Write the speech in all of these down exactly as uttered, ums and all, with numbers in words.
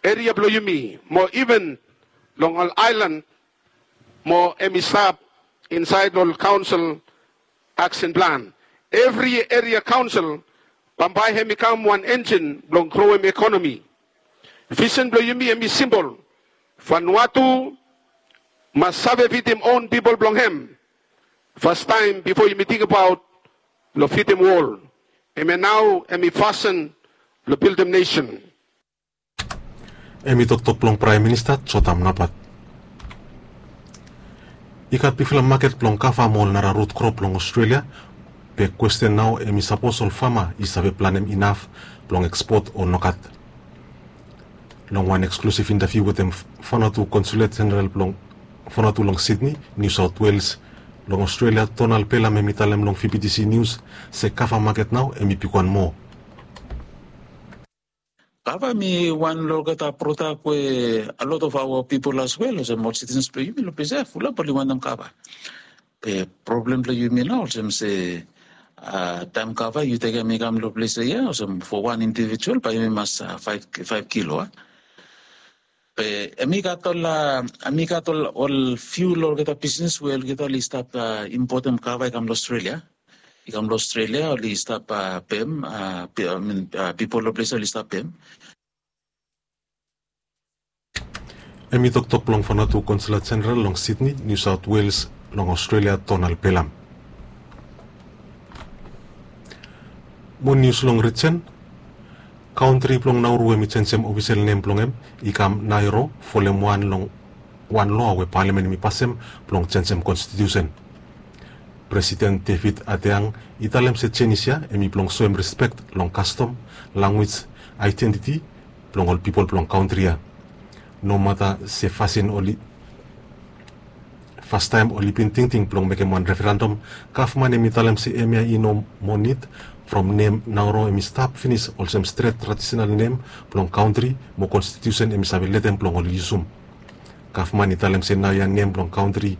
eria blong yumi mo iven long ol aelan mo hemi stap insaed long ol kaonsel aksen plan. Evri eria kaonsel bambae hemi kam wan enjin blong groem ekonomi. Visen blong yumi hemi simpol. Vanuatu mas save fidim on pipol blong hem fastaem bifo yumi tingbaot long fidim wol. Hemia nao hemi fasin long bildim nesen. Hemi toktok blong Praem Minista Jotam Napat. I gat bigfala maket blong kava mo ol nara rut krop long Australia. Be kwesten nao hemi sapos ol fama i save planem inaf blong ekspot o nogat. Long wan eksklusif intaviu wetem Vanuatu Konsulet Jeneral blong Vanuatu long Sydney, New South Wales long Australia, Donald Pelham hemi talem long VBTC News se kava maket nao hemi bigwan moa. Kava hemi wan long olgeta prodak we a lot of our people as well, olsem ol citizens blong yumi long ples ia fulap oli wantem kava. Be problem blong yumi nao olsem se, a, taem kava yu tekem i kam long ples ia, olsem fo wan indivijual bae yumi mas, a, faef, faef kilo, a. Be hemi gat ol, a, hemi gat ol, ol fiu long olgeta bisnes we olgeta oli stap, a, impotem kava i kam long Australia. I kam long Australia, oli stap, a, pem, a, pi-, I mean, a, pipol long ples ia oli stap pem. Hemi toktok blong Vanuatu Konsulet Jeneral long Sydney, New South Wales long Australia, Donald Pelham. Mo nius long rijen, kaontri blong Nauru hemi jenjem ofisel nem blong hem i kam Naero, folem wan long wan loa we palamen hemi pasem blong jenjem konstitiusen. Presiden David Adeang i talem se jenis ia hemi blong soem rispek long kastom, lanwis, aedentiti blong ol pipol blong kaontri ia. Nomata se fasin oli, fastaem oli bin tingting blong mekem wan referendum, gavman hemi talem se hemia i no moa nid. From nem Nauru hemi stap finis olsem stret tradisenal nem blong kaontri mo konstitiusen hemi save letem blong oli yusum. Gavman i talem se naoia nem blong kaontri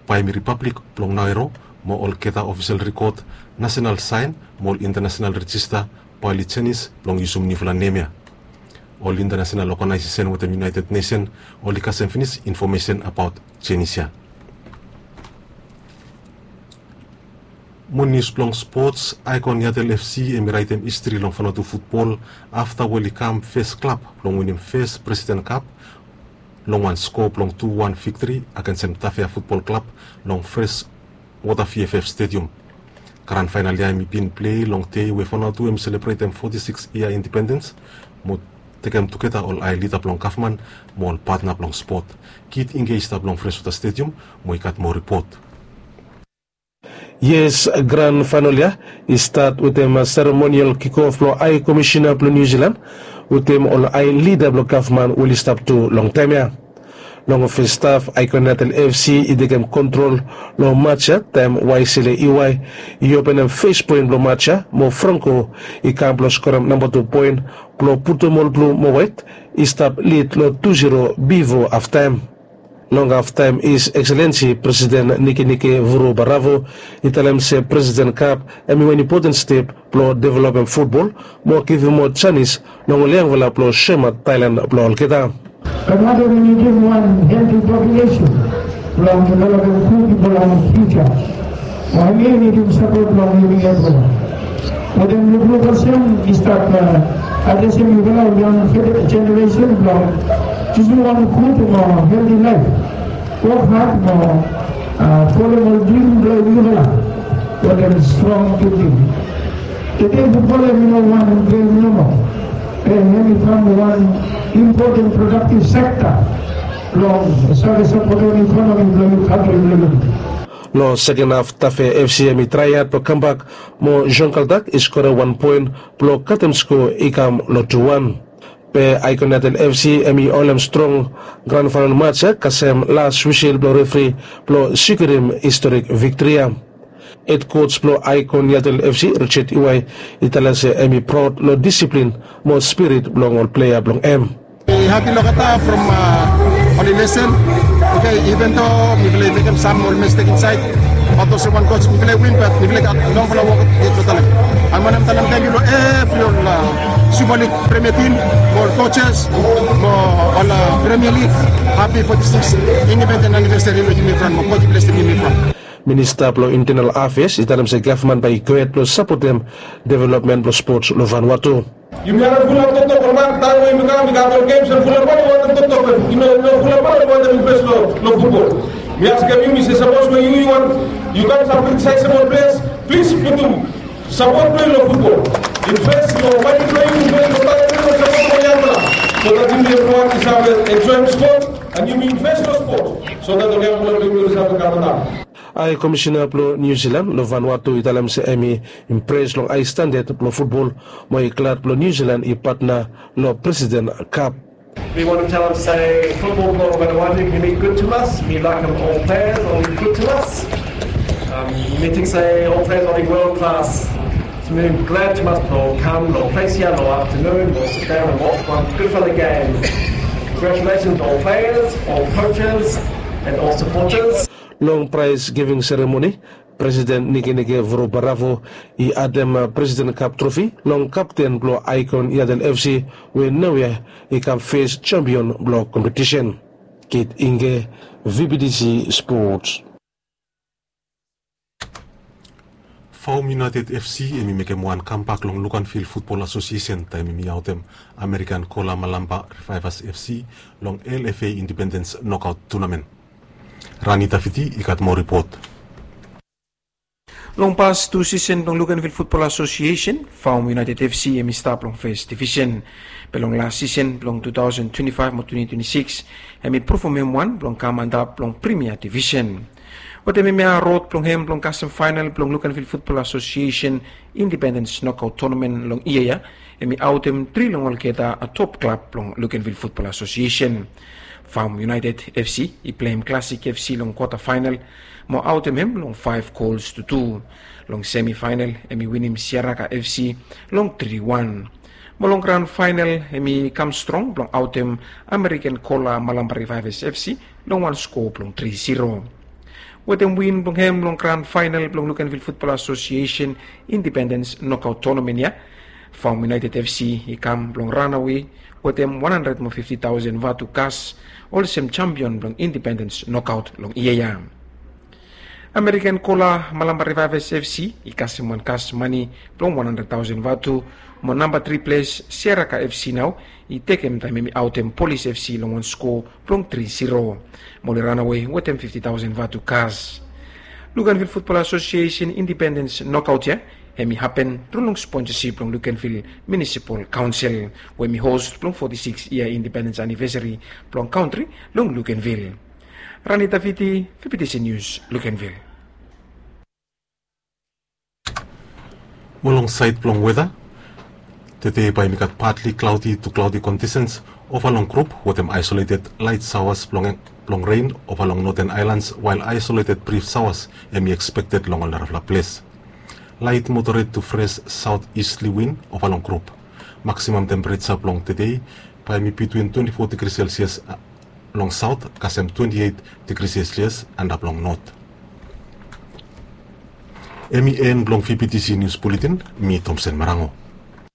bae hemi ripablik blong Nauru mo olgeta ofisel rikod, nasenal saen mo ol intanasenal rejista bae oli jenis blong yusum niufala nem ia. Ol intanasenal oganaesesen wetem United Nesen oli kasem finis infomesen abaot jenis ia. Mo nius blong spots, Aikon Yatel FC hemi raetem histri long Vanuatu futbol afta we oli kam fes klab blong winim fes Presiden Kap long wan skoa blong tu wan viktri agensem Tafea Futbol Klab long Freshwater VFF Stadium. Gran faenal ia hemi bin plei long dei we Vanuatu hemi selebretem foti sikis yia indipendens mo tekem tugeta ol ae lida blong gavman mo ol patna blong spot. Kit Ingei i stap long Freshwater Stadium mo i gat moa ripot. Yes, gran faenal ia i stat wetem seremonial kikof blong Ae Komisina blong Niu Silan wetem ol ae lida blong gavman we oli stap tu long taem ia. Long fes haf, Aikon Yatel FC i tekem kontrol long maj ia taem Waisele Iwai i openem fes poen blong maj ia mo Franco i kam blong skorem namba tu poen blong putum ol blu mo waet i stap lid long tu ziro bifo haftaem. Long haftaem, His Excellency Presiden Nikenike Vurobaravu i talem se Presiden Kap hemi wan impoten step blong developem futbol mo givim moa janis long ol yangfala blong soemaot talent blong olgeta. But what we need is one healthy population blong developem futbol long future. Mo hemi nidim sapot blong yumi evriwan. Wetem lukluk olsem i stap adresem yufala ol yang jeneresen blong jusum wan gud mo healthy laef. Wok had mo folem ol drim blong yufala wetem strong tingting. Tede futbol hemi no wan gem nomo. Be hemi kam wan impoten prodaktiv sekta blong save sapotem ekonomi blong yumi kantri blong yumi. Long seken haf, Tafea FC hemi trae had blong kambak mo Jean Kaldak i skorem wan poen blong katem skoa i kam long tu wan. Be Aikon Yatel FC hemi holem strong gran faenal maj ia kasem las wisil blong refri blong sikurim historik viktri ia. Hed koj blong Aikon Yatel FC, Richard Iwai, i talem se hemi praod long disiplin mo spirit blong ol plea blong hem. Hapi long olgeta from ol i lesen. Oke, iven do mifala i mekem sam ol mestek insaed, bat olsem wan koj mifala i win, bat mifala i gat longfala wok yet blong talem. Ae mi wantem talem tangkiu long evri ol Super League, Premier Team, mo coaches, mo ol Premier League, happy forty-six independent anniversary long yumi from, mo God bless long yumi from. Minista blong Internal Affairs i talem se gavman bae i gohed blong sapotem developmen blong spots long Vanuatu. Yumi harem fulap toktok ol man, taem we yumi kam i gat ol games and fulap man i wantem toktok, i no, i no fulap man i wantem invest long, long futbol. Mi askem yumi se sapos we yu, yu want, yu gat sam criticizable players, plis putum sapot blong yu long futbol. Invest long mane blong yu, invest long taem blong yu, sapot long yangfala. So that yumi evriwan i save enjoem spot, and yumi invest long spot, so that ol yangfala blong yumi i save kam antap. Hae Komisina blong Niu Silan long Vanuatu i talem se hemi impres long hae standad blong futbol, mo i glad blong Niu Silan i patna long President Cup. We want to tell them, say, football blong Vanuatu, hemi gud tumas. Mi laekem ol playas, oli gud tumas. Um, mi ting se ol playas oli world class. So mi glad tumas blong kam long ples ia long aftanun, we'll sit down and watch one gudfala game. Congratulations ol playas, ol coaches, and ol supporters. Long praes giving seremoni, Presiden Nikenike Vurobaravu i adem Presiden Kap Trofi long kapten blong Icon Yadel FC, we naoia i kam fes jampion blong kompetisen. Kit Inge, VBTC Sports. Faum United FC hemi mekem wan kambak long Luganville Football Association taem hemi aotem American Kola Malamba Revivers FC long LFA Independence Knockout Tournament. Rani Tafiti i gat moa ripot. Long pas tu sisen blong Luganville Football Association, Faum United FC hemi stap long fes divisen. Be long las sisen blong two thousand twenty-five mo twenty twenty-six, hemi provem hem wan blong kam antap long Premier Divisen. Wetem hemia rod blong hem blong kasem faenal blong Luganville Football Association Independence Knockout Tournament long yia ia, hemi aotem tri long olgeta top klab blong Luganville Football Association. Faum United FC i pleim Classic FC long kwata faenal mo aotem hem long faef gols tu tu. Long semi faenal hemi winim Siaraka FC long tri wan. Mo long gran faenal hemi kam strong blong aotem American Kola Malamba Revivers FC long wan skoa blong tri zero. Wetem win blong hem long gran faenal blong Luganville Football Association Independence Knockout Tournament ia, Faum United FC i kam blong ranawe wetem wan handred mo fifti taosen vatu kas, olsem jampion blong Independence Knockout long yia ia. American Kola Malamba Revivers FC i kasem wan kas mane blong wan handred taosen vatu, mo namba tri ples Siaraka FC nao i tekem taem hemi aotem Police FC long wan skoa blong tri zero. Mo oli ranawe wetem fifti taosen vatu kas. Luganville Football Association Independence Knockout ia hemi hapen tru long sponsasip blong Luganville Municipal Council, we hemi host blong foti siks yia independens anivesari blong kantri long Luganville. Rani Tafiti, VBTC News, Luganville. Mo long saed blong weta, tede bae hemi gat partly cloudy to cloudy conditions ova long grup wetem isolated light showers blong, blong rain ova long Northern Islands, while isolated brief showers hemi expected long ol narafala ples. Light moderate to fresh southeasterly wind ova long grup. Maximum temperature blong tede bae hemi between twenty-four degrees Celsius, uh, long south kasem twenty-eight degrees Celsius antap long north. Hemi en blong VBTC News Bulletin, mi Thompson Marango.